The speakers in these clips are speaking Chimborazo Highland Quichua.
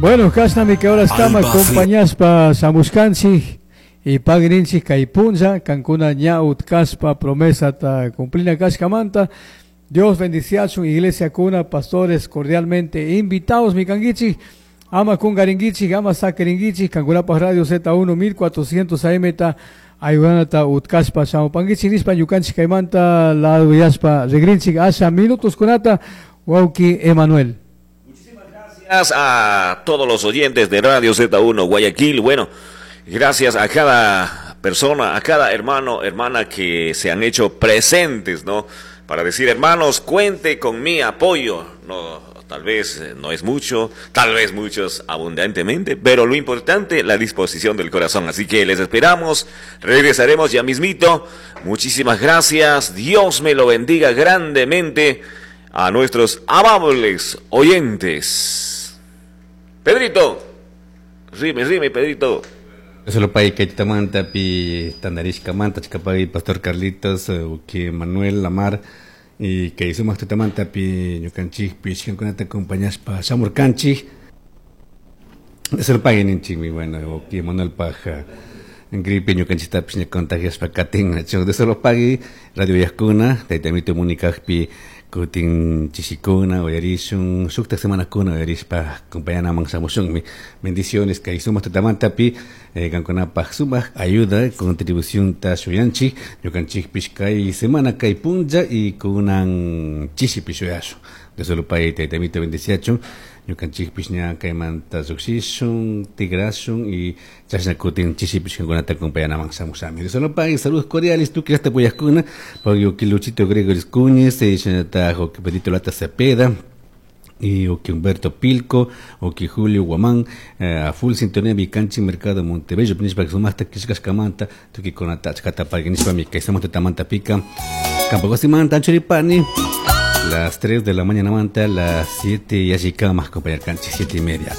Bueno, kashnami que ahora estamos acompañaspa shamushkanchik y pagrinchik kay punlla kankuna ña utkashpa promesata cumplina kashkamanta. Dios bendiciachun iglesia kuna pastores cordialmente invitados mi kanguichik ama kungaringuichik ama sakiringuichik kankunapaj radio Z1 1400 AM ta ayudanata utkashpa shamupanguichik nishpa ñukanchik kaymanta laduyashpa rigrinchik asha minutos kunata wawki Emanuel. Gracias a todos los oyentes de Radio Z1 Guayaquil. Bueno, gracias a cada persona, a cada hermano, hermana que se han hecho presentes, ¿no? Para decir, hermanos, cuente con mi apoyo. No, tal vez no es mucho, tal vez muchos abundantemente, pero lo importante, la disposición del corazón. Así que les esperamos, regresaremos ya mismito. Muchísimas gracias, Dios me lo bendiga grandemente a nuestros amables oyentes. Pedrito, rime, rime, Pedrito. Solo pay que tamanta pi tandarishkamanta chikapay Pastor Carlitos, que Manuel Lamar y que sumaq tutamanta pi ñukanchik pi ishkankunata acompañashpa shamurkanchik. Solo pay ninchikmi, bueno, que Manuel paja gripe ñukanchiktapish ña contagiashpa katin. De solo pagui Radio Yajkuna, taytamito Municajpi kutin chishikuna uyarishun shukta semanakuna uyarishpa acompañanaman shamushunmi. Bendiciones kay sumaq tutamantapi kankunapaj sumaq ayuda contribución ta shuyanchik ñukanchikpish kay semana kay punlla y kunan chishipi shuyashun. De solo pay taytamito bendiciachun ñukanchikpish ña kaymanta lluqshishun tigrashun y chashna kutin chishipish kankunata acompañanaman shamushami. De solo pay saludos cordiales tukuy llaqta puyajkuna pay Luchito Gregoris Cuñez shinallataj Pedrito Lata Cepeda y o que Humberto Pilco, o que Julio Guamán, a full sintonía mi canchi mercado Montebello, nishpa sumaqta kishkashkamanta, tukuy achkata pagui nishpa mi kay sumaq tutamanta pica, Campo Manta, Churipani, las 3 de la mañana manta, las 7 y allí más compañero canchi, 7:30.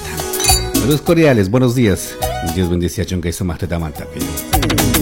Saludos cordiales, buenos días. Dios bendice a Chunga y sumaq tutamanta.